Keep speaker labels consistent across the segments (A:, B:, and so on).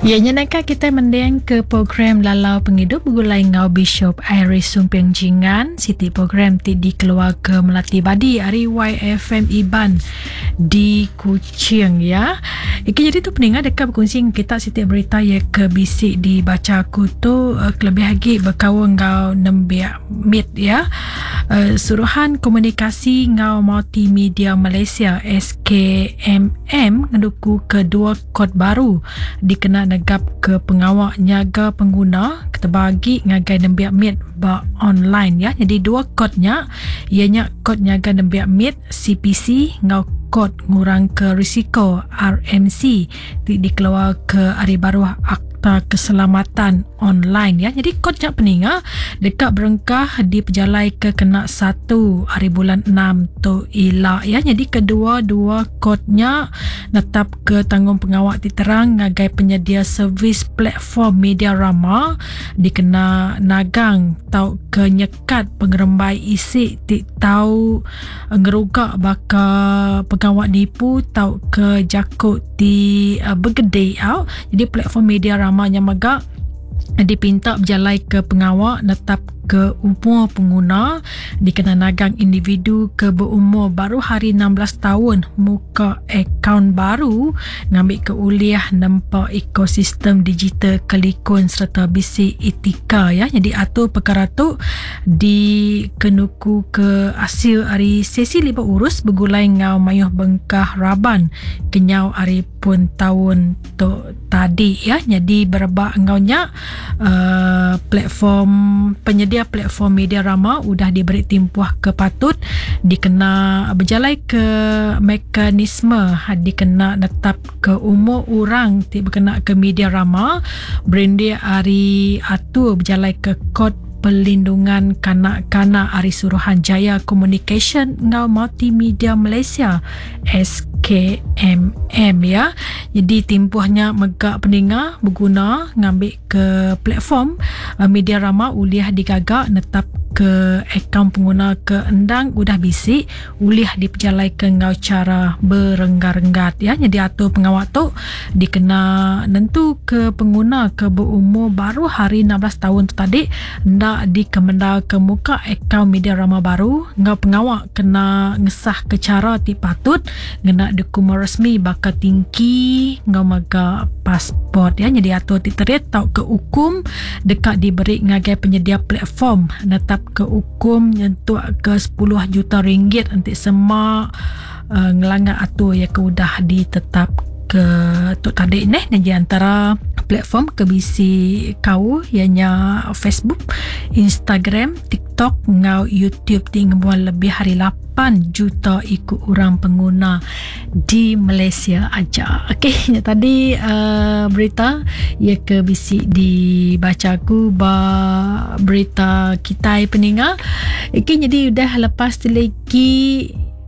A: Ya nya naka kitai mending ke program Lalau Pengidup begulai enggau Bishop Iris Sumping Jingan, siti program ti dikeluarka Melati Badi ari YFM Iban di Kuching ya. Iki jadi tu peninga deka bekunsi enggau kita siti berita ya ke bisi dibacha aku tu eh, kelebih agi bekaul enggau nembiak mit ya. Eh, Suruhan Komunikasi enggau Multimedia Malaysia SKMM ngenuku ke dua kod baru dikena negapka pengawa nyaga pengguna ketebal agi ngagai nembiak mit ba online ya. Nyadi dua kod nya iya nya kod nyaga nembiak mit CPC enggau kod ngurangka risiko RMC ti dikeluarka ari baruh Akta Keselamatan Online ya. Nyadi kod nya peninga deka berengkah dipejalaika kena satu ari bulan enam tu ila ya. Nyadi kedua-dua kod nya netapka tanggungpengawa ti terang ngagai penyedia servis platform media rama dikena nagang tauka nyekat pengerembai isi ti tau ngeruga baka pengawa nipu tauka jaku ti begedi au. Jadi platform media rama nya mega dipinta bejalaika pengawa netapka umur penguna dikena nagang individu ke beumur baruh ari 16 taun muka akaun baru ngambika ulih nempa ekosistem digital ke likun sereta bisi etika ya. Nyadi atur pekara tu dikenukuka asil ari sesi liba urus begulai enggau mayuh bengkah raban kenyau ari pun taun tu tadi ya. Nyadi berebak enggau nya uh, platform penyedia platform media rama udah diberi timpuh ke patut dikena bejalai ke mekanisme dikena netap ke umur orang ti bekena ke media rama berindik ari atur bejalai ke kod Perlindungan Kanak-kanak ari Suruhanjaya Komunikasyen enggau Multimedia Malaysia SKMM ya. Jadi timpuh nya mega peninga beguna ngambi ke platform eh, media rama ulih digaga netap ke akaun pengguna ke endang udah bisi ulih dipejalaika enggau chara berenggat-renggat ya. Nyadi atur pengawa tu dikena nentuka pengguna ke beumur baruh ari 16 taun tu tadi enda dikemendarka muka akaun media rama baru enggau pengawa kena ngesahka chara ti patut ngena dokumen resmi baka tingki enggau mega pasport ya. Nyadi atur ti terit tauka ukum deka diberi ngagai penyedia platform netapka ukum nyentuk ke sepuluh juta ringgit enti sema uh, ngelanggar atur ya ke udah ditetapka tu tadi neh. Nyadi antara platform ke bisi kaul iya nya Facebook, Instagram, TikTok enggau YouTube ti ngembuan lebih ari 8 juta iku orang penguna di Malaysia aja. Okey, nya tadi uh, berita iya ke bisi dibacha aku ba berita kitai peninga. Okey, jadi udah lepas ti lagi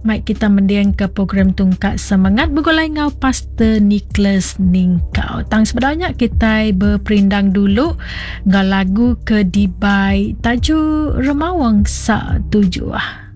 A: mai kita mending ke program Tungkat Semangat begulai enggau Pastor Nicholas Ningkau. Tang sebenarnya kitai berperindang dulu enggau lagu ke dibai Taju Remawang Sa Tujuh.